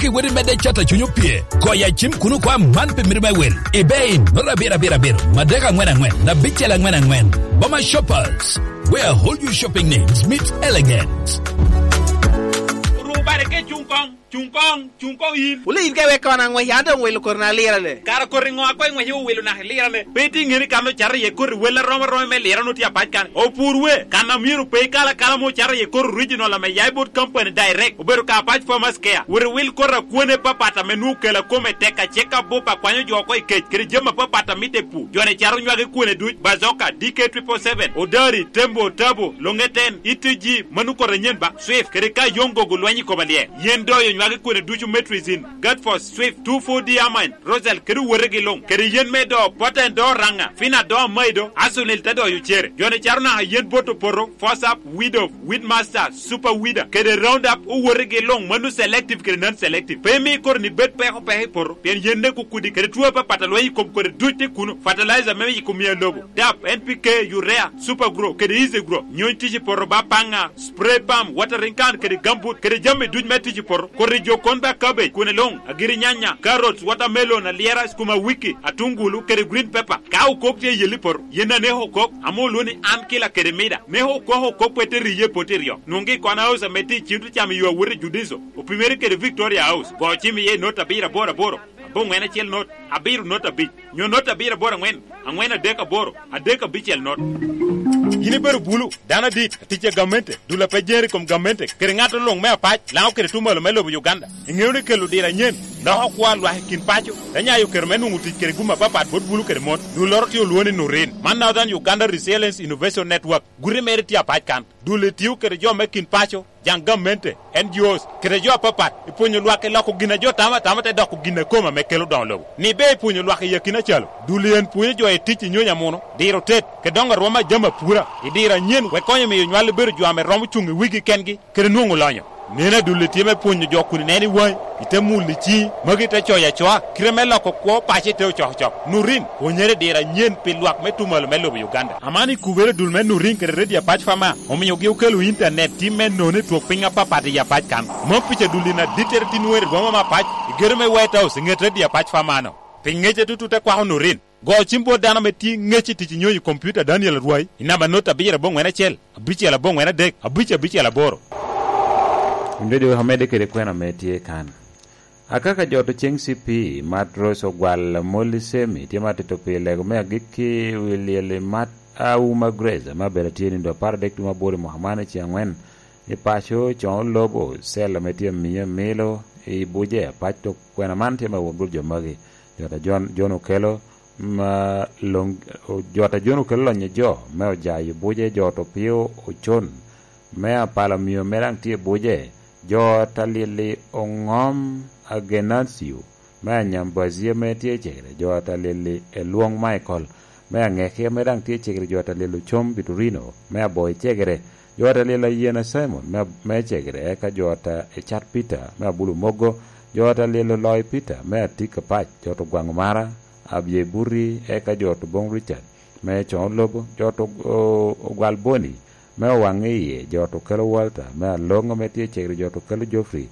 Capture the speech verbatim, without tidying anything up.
Ki wodi medde cat a cuny opye, goyo acim kun okwa man pi miti me wil. Ebay, noto abiro abiro abiro, madek angwen angwen, abicel angwen angwen. Boma Shoppers, where all your shopping needs meet elegance. Rubare ke cuŋ koŋ, cuŋ koŋ, cuŋ koŋ yin. Wule yin ka iwek kono aŋwec, an doŋ wilo koti na lirane. Kara koti ŋo a koŋ iŋwece owilo naka i lirane? Pe itye ŋeni kan ocato iye koti wel arom aroma me lirane otye apac kan. Opur we, kan a myero pe ikal akala ma ocato iye koti original ame ya i bot company direct, obedo ka apac Farmers Care. Wot iwil koti akwone papat ame nwoŋo kela kome tek, acek abup akwanyo jo oko i kec, kede jami apapat a mitte i pur. Joni cato nywagi kwone duc, Bazoka, D K triple seven, Odari, Tembo, Tabo, Longeten, E T G, mano koti anyen ba, Swift, kede ka yoŋ gogo lweny i koma lye. Yen doyo nywagi kwone ducu, Metrizin, Gatfos, Swift, two four D Amine, Rosal, kede owotegi luŋ, kede yen me do, Poten do, Raŋa, Fina do, Maido, Asunil te doyo cere. Joni cato naka yen bot opoto, Fosap, Widow, Weedmaster, Super Weeder, kede Roundup, owotegi luŋ, mano selective kede non-selective. Pe imi koro ni bed peko peko i poto, pien yen nek okudi, kede two apapat a lweny i kom kodi duc tye kuno. Fertilizer me yiko mia lobo, dap, N P K, urea, Super Grow, kede Easy Grow, nyony tic i poto ba paŋa, spray pump, watering can, kede gambut, kede jami duc me tic i poto. Kodi jo kon ba cabbage, kwone luŋ, agiri nyanya, carrots, watermelon, alyera, skuma wiki, atungulu, kede green pepper. Ka okok tye i yel i poto, yen aneko okok, ame olwoŋo ni an kila kede mida. Neko okok okok pe te riye i poto iryo. Nwoŋgi i Kona House ame tye i Cito Cam i yo awot i Judiso, opimere kede Victoria House. Go cim iye i not abiro aboro aboro, aboŋwen acel not, abiro not abic, nyo not abiro aboro aŋwen, aŋwen adek aboro, adek abicel not. Yin ibedo bulu, dano adit, atic a gamente, dul a pe jere i kom gamente, kede ŋat luŋ me apac, Laŋo kede tumalo me lobo Uganda. Iŋeo ni kelo diro anyen loko kwo a lwak i kin paco, te nyayo kero me nwoŋo tic kede gum apapat bot bulu kede mon. Dulloro tye olwoŋo ni Nurin. Man Northern Uganda Resilience Innovation Network. Guti mere tye apac kan. Dul-li tio kede jo me kin paco, jaŋ gamente, N G Os, kede jo apapat, i pwonyo lwak i loko gin a jo tamo atama te doko gin a kome ame kelo doŋo lobo. Ni ber i pwonyo lwak i akina calo. Dul-li en pwonyo jo i tic i nyonyo amuno, diro tet, kede doŋo arwom a jami apura, i diro anyen, wek konyo miyo nywal bedo jo ame romo cuŋ i wigi kengi, kede nwoŋo lonyo. Neno adulli tye me pwonyo jo kun ineno i waŋi, ite mulo i ciŋi, magi te coyo acoa, kite me loko kwo paco ite ocokocok. Nurin, pwonyere diro anyen pi lwak me tumalo me lobo Uganda. Aman i kubere dul me Nurin kede Radio Apac Fama, omiogi okelo intanet tim me nono i twok piny apapat i Apac kan. Mom pica dulli na dittere tin wer i boma me Apac, i gedo me White House, i ŋet Radio Apac Fama-no. Pi ŋec atutu te kwako Nurin. Go cim bot dano ame tye ŋec i tic i nyonyo i kompiuta Daniel Arwai i namba not abiro aboŋwen acel, abicel aboŋwen adek, abic abicel aboro. Wun doŋ iweko amedde kede kwena ame tye kan. Akaka jot oceŋ C P, Matros Ogwal Amolli Semi tye ma tito pi lego me agikki wi lyel i Mat Auma Grace ame abedo atye nindo apar adek tumo aboro i mwaka man i ceŋ angwen i paco, coŋo lobo, cel ame tye amiyo milo i buce apac. Tok kwena man tye me wot bot jo magi. Jot a Jon, Jon okelo ma loŋ, jot a Jon okelo lonyo jo me ojayo buce, jot opio ocon me apalo mio me daŋ tye buce, jot a Lili oŋom Agenacio me Anyambazi ame tye cegere, jot a Lili elwoŋ Michael me Aŋeki ame daŋ tye cegere, jot a Lili ocom Biturino me Aboi cegere, jot a Lili Ayena Simon me, me cegere, eka jot a Ecat Peter me Abulu Mogo, jot a Lili Oloi Peter me Atika Pac, jot Ogwaŋ Omara, Abye Burri, eka jot Oboŋ Richard me Coŋo Lobo, jot Og-, O-, Ogwal Boni me Owaŋ Iye, jot Okelo Walter me Aloŋ ame tye cegere, jot Okelo Geoffrey